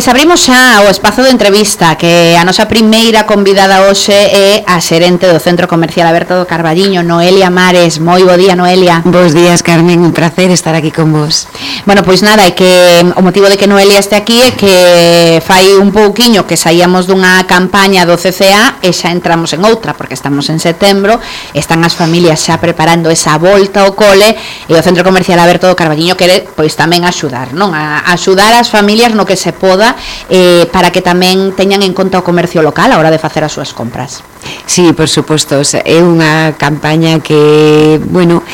Pois abrimos xa o espazo de entrevista, que a nosa primeira convidada hoxe é a xerente do Centro Comercial Aberto do Carballiño, Noelia Mares. Moi bo día, Noelia. Bos días, Carmen, un placer estar aquí con vos. Bueno, pois nada, é que o motivo de que Noelia este aquí é que fai un pouquiño que saíamos dunha campaña do CCA e xa entramos en outra, porque estamos en setembro, están as familias xa preparando esa volta ao cole e o Centro Comercial Aberto do Carballiño quere pois tamén axudar, non? A axudar as familias no que se poda, para que tamén teñan en conta o comercio local a hora de facer as súas compras. Sí, por suposto, é unha campaña que, bueno,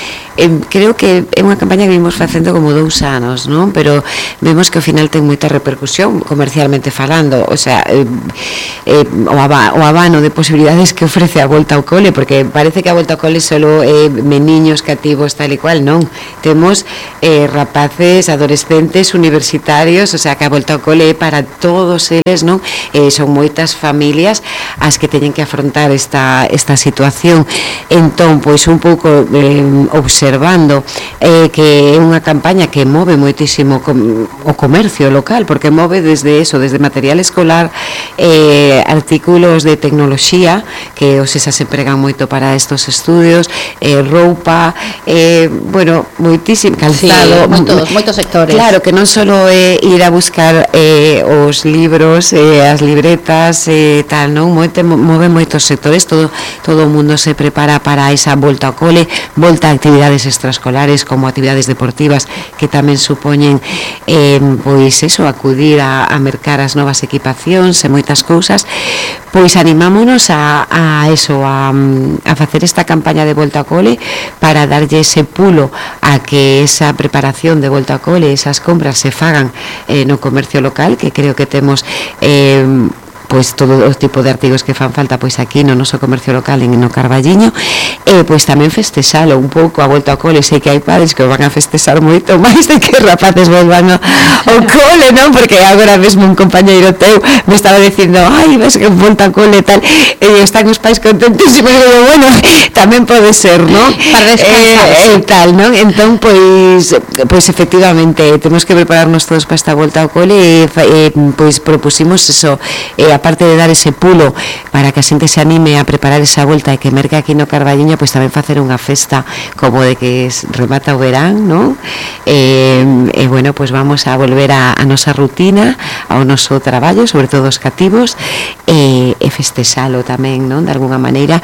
creo que é unha campaña que vimos facendo como 2 anos, non? Pero vemos que ao final ten moita repercusión comercialmente falando, o sea, o abano de posibilidades que ofrece a volta ao cole, porque parece que a volta ao cole solo é niños cativos tal e cual, non? Temos rapaces, adolescentes, universitarios, o sea, que a volta ao cole é para todos eles, non? Son moitas familias as que teñen que afrontar esta situación. Entón, pois un pouco observando que é unha campaña que move moitísimo o comercio local, porque move desde material escolar, artículos de tecnoloxía que os esas se empregan moito para estos estudios, roupa, bueno, moitísimo calzado, sí, moitos sectores. Claro, que non só é ir a buscar os libros, as libretas, tal, non? Move moitos sectores, todo o mundo se prepara para esa volta ao cole, volta a actividades extraescolares como actividades deportivas que tamén supoñen pois eso, acudir a mercar as novas equipacións e moitas cousas. Pois animámonos a facer esta campaña de volta ao cole para darlle ese pulo a que esa preparación de volta ao cole, esas compras se fagan no comercio local, que creo que temos pois todo o tipo de artigos que fan falta pois aquí no noso comercio local no Carballiño, pois tamén festexalo un pouco a volta ao cole. Sei que hai padres que o van a festexar moito máis de que rapaces volvan ao cole, non? Porque agora mesmo un compañeiro teu me estaba dicindo, ai, ves que volta ao cole e tal, e están os pais contentísimos, e digo, bueno, tamén pode ser, non? Para descansar, tal, non? Entón, pois efectivamente temos que prepararnos todos para esta volta ao cole e pois propusimos eso, aparte de dar ese pulo para que a xente se anime a preparar esa volta e que merque aquí no Carballiño, pois tamén facer unha festa como de que remata o verán, non? E bueno, pois vamos a volver a nosa rutina, ao noso traballo, sobre todo os cativos, e festexalo tamén, non? De alguna maneira,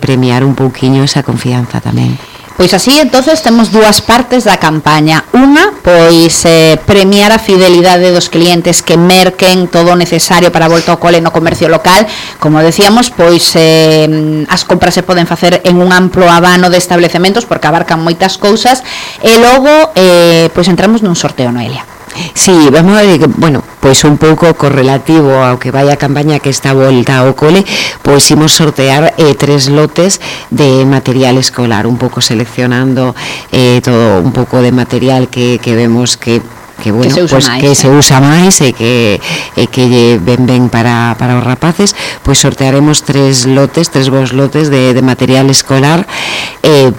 premiar un pouquiño esa confianza tamén. Pois así, entonces, temos dúas partes da campaña. Unha, pois, premiar a fidelidade dos clientes que merquen todo o necesario para a volta ao cole no comercio local. Como decíamos, pois, as compras se poden facer en un amplo abano de establecementos porque abarcan moitas cousas. E logo, pois, entramos nun sorteo, Noelia. Sí, vamos a ver, bueno, pois un pouco correlativo ao que vai a campaña que está volta ao cole, pois imos sortear 3 lotes de material escolar, un pouco seleccionando todo un pouco de material que vemos que bueno, que se usa máis e que ven para os rapaces. Pois sortearemos 3 bons lotes de material escolar,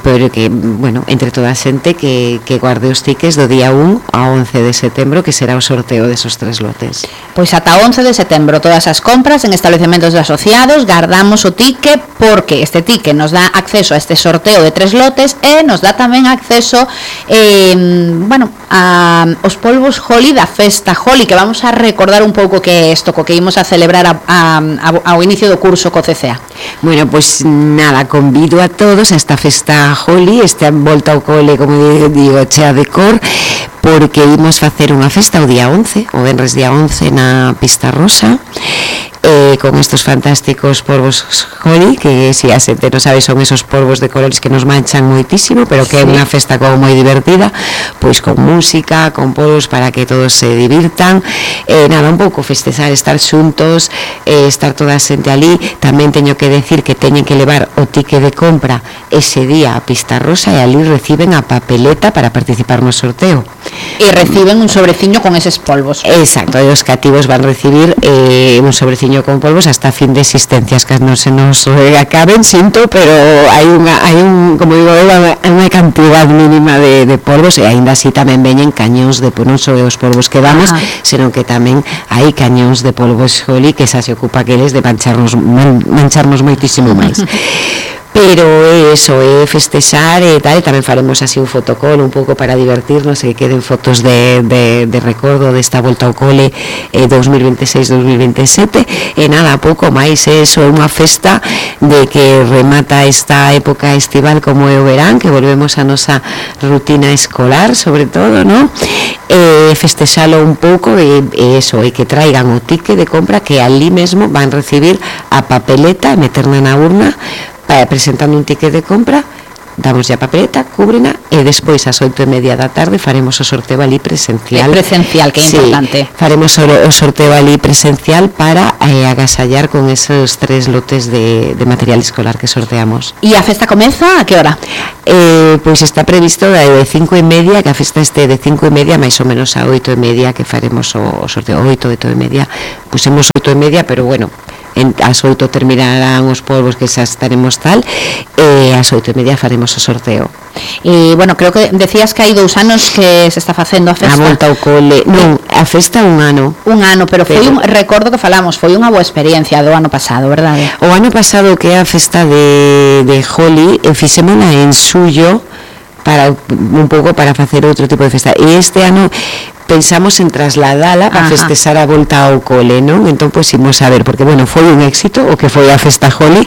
pero que, bueno, entre toda a xente que guarde os tickets do día 1 a 11 de setembro, que será o sorteo desos 3 lotes. Pois ata 11 de setembro todas as compras en establecementos de asociados guardamos o ticket, porque este ticket nos dá acceso a este sorteo de 3 lotes e nos dá tamén acceso bueno, a os polvos Holi da festa Holi, que vamos a recordar un pouco que é isto, co que imos a celebrar ao inicio do curso co CCA. Bueno, pois nada, convido a todos a esta festa Holi, esta volta ao cole, como digo, chea de cor, porque imos facer unha festa o día 11, o venres día 11 na Pista Rosa, con estos fantásticos polvos Holi, que si a xente non sabe son esos polvos de colores que nos manchan moitísimo, pero que é unha festa como moi divertida, pois con música, con polvos para que todos se divirtan, nada, un pouco festexar, estar xuntos, estar toda a xente ali. Tamén teño que decir que teñen que levar o ticket de compra ese día a Pista Rosa e ali reciben a papeleta para participar no sorteo. E reciben un sobreciño con eses polvos. Exacto, e os cativos van recibir un sobreciño Carballiño con polvos hasta fin de existencias, que non se nos acaben, sinto, pero hai un como digo, unha cantidad mínima de polvos, e aínda así tamén veñen cañóns de non só os polvos que damos, senón que tamén hai cañóns de polvos Joli que xa se ocupa aqueles de mancharnos moitísimo máis. Pero eso, festexar e tal, e tamén faremos así un fotocall un pouco para divertirnos e que queden fotos de recordo desta volta ao cole 2026-2027, e nada, pouco máis, eso é unha festa de que remata esta época estival como é o verán, que volvemos a nosa rutina escolar, sobre todo, ¿no? Festexalo un pouco e eso, e que traigan o ticket de compra, que ali mesmo van recibir a papeleta, meterna na urna, presentando un ticket de compra, damos a papeleta, cúbrena, e despois ás 8:30 da tarde faremos o sorteo ali presencial. Presencial, que é importante. Faremos o sorteo ali presencial para agasallar con esos 3 lotes de material escolar que sorteamos. E a festa comeza a que hora? Pois está previsto de 5:30, que a festa este de 5:30 máis ou menos a 8:30 que faremos o sorteo. 8:30, pusemos 8:30, pero bueno, ás 8 terminarán os polvos, que xa estaremos tal, e ás 8:30 faremos o sorteo. E, bueno, creo que decías que hai 2 anos que se está facendo a festa. A volta ao cole, non, a festa un ano. Un ano, pero foi recordo que falamos, foi unha boa experiencia do ano pasado, verdade? O ano pasado, que é a festa de Joli, fixémola en Suyo, para un pouco para facer outro tipo de festa, e este ano pensamos en trasladala para festexar a volta ao cole, non? Entón, pois, imos a ver, porque, bueno, foi un éxito o que foi a festa Joli,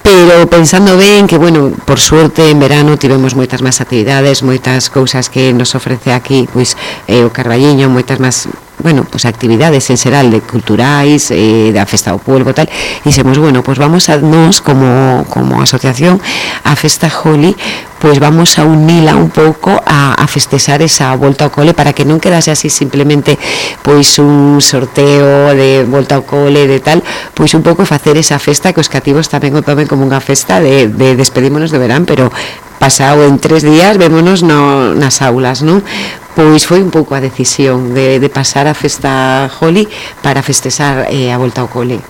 pero pensando ben que, bueno, por suerte en verano tivemos moitas máis actividades, moitas cousas que nos ofrece aquí, pois, o Carballiño, moitas máis, bueno, pues actividades en xeral de culturais, da festa do polvo, tal, e dixemos, bueno, pues vamos a nos como asociación a festa Joli, pues vamos a unila un pouco a festexar esa volta ao cole, para que non quedase así simplemente pois un sorteo de volta ao cole de tal, pois un pouco facer esa festa que os cativos tamén o tomen como unha festa de despedímonos de verán, pero pasado en 3 días vémonos nas aulas, non? Pois foi un pouco a decisión de pasar a festa Joli para festexar a volta ao cole.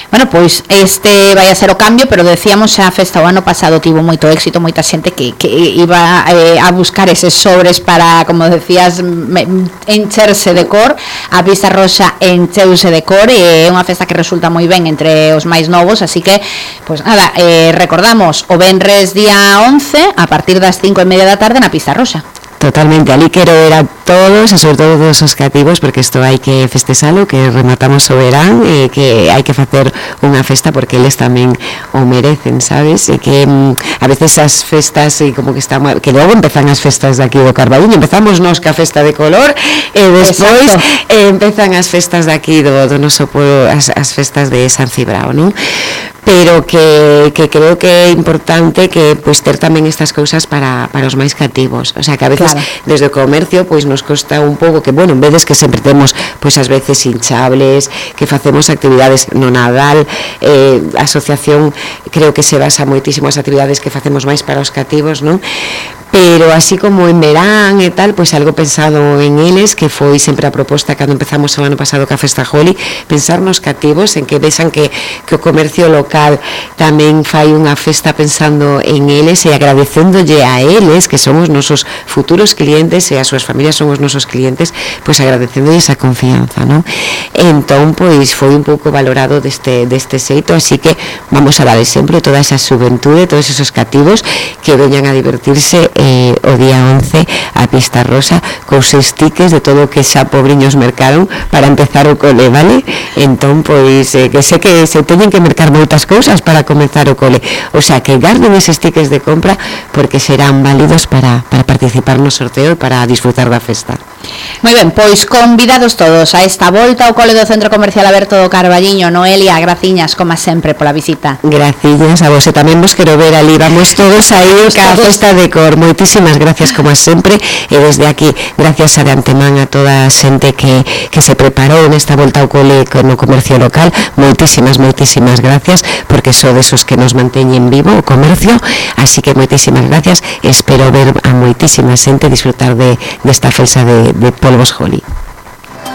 Bueno, pois este vai a ser o cambio, pero decíamos xa a festa o ano pasado tivo moito éxito, moita xente que iba a buscar eses sobres para, como decías, encherse de cor. A Pista Rosa encheuse de cor e é unha festa que resulta moi ben entre os máis novos, así que, pois nada, recordamos o venres día 11 a partir das 5:30 da tarde na Pista Rosa. Totalmente, ali quero ver a todos, e sobre todo todos os cativos, porque isto hai que festexalo, que rematamos o verán, e que hai que facer unha festa porque eles tamén o merecen, sabes? E que a veces as festas e como que están, que logo empezan as festas de aquí do Carballiño, empezamos nos ca festa de color e despois empezan as festas de aquí do noso pueblo, as festas de San Cibrao, non? Pero que creo que é importante que pois ter tamén estas cousas para os máis cativos, o sea, que a veces desde o comercio pois nos costa un pouco, que bueno, en veces que sempre temos pois ás veces hinchables, que facemos actividades no Nadal, a asociación creo que se basa moitísimo as actividades que facemos máis para os cativos, non? Pero así como en verán e tal, pois algo pensado en eles, que foi sempre a proposta cando empezamos o ano pasado ca festa Joli, pensar nos cativos, en que vexan que o comercio local tamén fai unha festa pensando en eles e agradecéndolle a eles, que son os nosos futuros clientes e as súas familias son os nosos clientes, pois agradecéndolle esa confianza, non? Entón, pois foi un pouco valorado deste xeito, así que vamos a dar sempre toda esa xuventude, todos esos cativos que veñan a divertirse o día 11 a Pista Rosa cos stickers de todo o que xa pobriños mercaron para empezar o cole, vale? Entón, pois, que sei que se teñen que mercar moitas cousas para comenzar o cole, o sea, que garden eses stickers de compra porque serán válidos para participar no sorteo e para disfrutar da festa. Moi ben, pois convidados todos a esta volta ao cole do Centro Comercial Aberto do Carballiño. Noelia, graciñas, como sempre, pola visita. Graciñas a vos, e tamén vos quero ver ali, vamos todos aí ca festa de cor. Moitísimas gracias, como sempre, e desde aquí, gracias de antemán a toda a xente que se preparou nesta volta ao cole no comercio local. Moitísimas gracias, porque sodes os que nos manteñen vivo o comercio, así que moitísimas gracias, espero ver a moitísima xente disfrutar desta festa de polvos Joli.